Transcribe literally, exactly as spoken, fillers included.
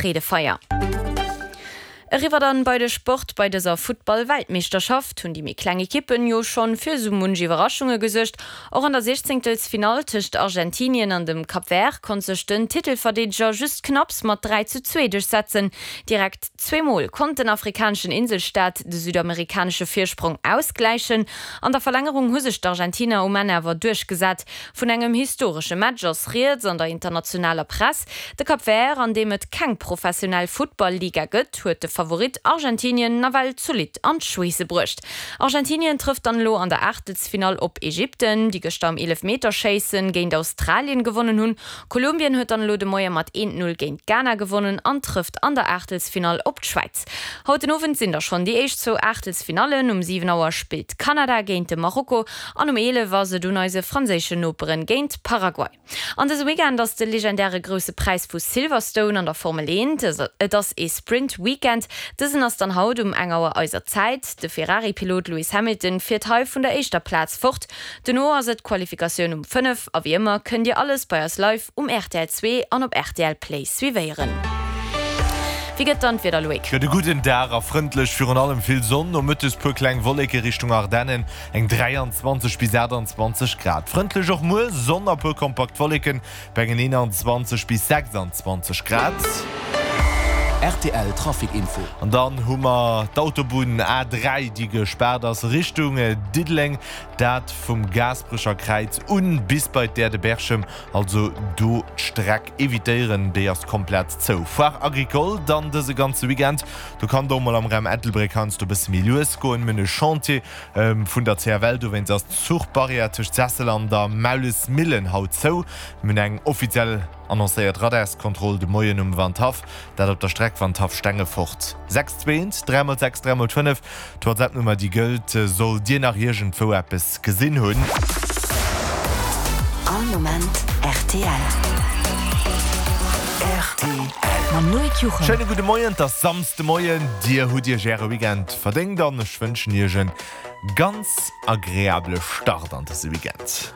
Freedefeier. Eriwwer dann bei de Sport. Bei dëser Futtball-Weltmeeschterschaft hunn déi méi kleng Ekippen jo schonn fir sou munch Iwwerraschunge gesuergt. Och an der Siechzéngtelsfinall tëscht Argentinien an dem Cap Vert konnt sech den Titelverdeedeger just knapps mat dräi zu zwee duerchsetzen. Direkt zwee Mol konnt den afrikaneschen Inselstaat de südamerikanesche Virsprong ausgläichen. An der Verlängerung hu sech d'Argentiner um Enn awer duerchgesat. Vun engem historesche Match ass rieds an der internationaler Press. De Cap Vert, an deem et keng professionell Futtball-Liga gëtt, huet de Favorit Argentinien nawell zolidd an d'Schweesse bruecht. Argentinien trëfft dann elo an der Aachtelsfinall op Ägypten, déi gëschter am Eelefmeterschéisse géint Australien gewonnen hunn. Kolumbien huet dann elo de Moie mat eent Null géint Ghana gewonnen an trëfft an der Aachtelsfinall op d'Schwäiz. Haut den Owend sinn da schonn déi éischt zwou Aachtelsfinallen, Um siwen Auer spillt Kanada géint de Marokko an um eelef ass et un eise franséischen Noperen géint Paraguay. An dëse Weekend ass de legendäre Grousse Präis vu Silverstone an der Formel eent. Et ass ee Sprint Weekend. Dësen ass dann haut um eng Auer eiser Zäit. De Ferrari-Pilot Lewis Hamilton fiert hei vun der éischter Plaz fort. Dono ass et d'Qualifikatioun um fënnef a wéi ëmmer kënnt Dir alles bei eis live um rtl zwee an op rtl Play suivéieren. Wéi gëtt dann d'Wieder, Loïc? Gëtt e gudden Dag a frëndlech, virun allem vill Sonn, nomëttes puer kleng Wolleke Richtung Ardennen, eng dräianzwanzeg bis aachtanzwanzeg Grad. Frëndlech och muer, Sonn a puer kompakt Wolleken bei engen eenanzwanzeg bis sechsanzwanzeg Grad. Rtl Trafic Info. An dann hu mer d'Autobunn A dräi, déi gespaart ass Richtung Diddeleng, dat vum Gaasperecher Kräiz un bis bei d'Aire de Berchem, also do d'Streck evitéieren, déi ass komplett zou. Foire Agricole dann dëse ganze Weekend, do kann et och mol am Raum Ettelbréck heiansdo e bësse méi lues goen. Mir hunn e Chantier vun der C F L, dowéinst ass d'Zuchbarrière tëscht Sessel an der Maulesmillen haut zou. Mir hunn eng offiziell annoncéiert Radarskontroll de Moien um Wandhaff, dat op der Streck Wandhaff-Stengefort. Sechs zwee eent, dräi mol sechs, dräi mol fënnef, d'WhatsApp-Nummer déi gëllt, sollt Dir nach iergendwou eppes gesinn hunn. All Moment rtl. Rtl. Mam Loïc Juchem. Schéine gudde Moien, et ass Samsdemoien, Dir hutt Iech Äre Weekend verdéngt an ech wënschen Iech e ganz agreabele Start an dëse Weekend.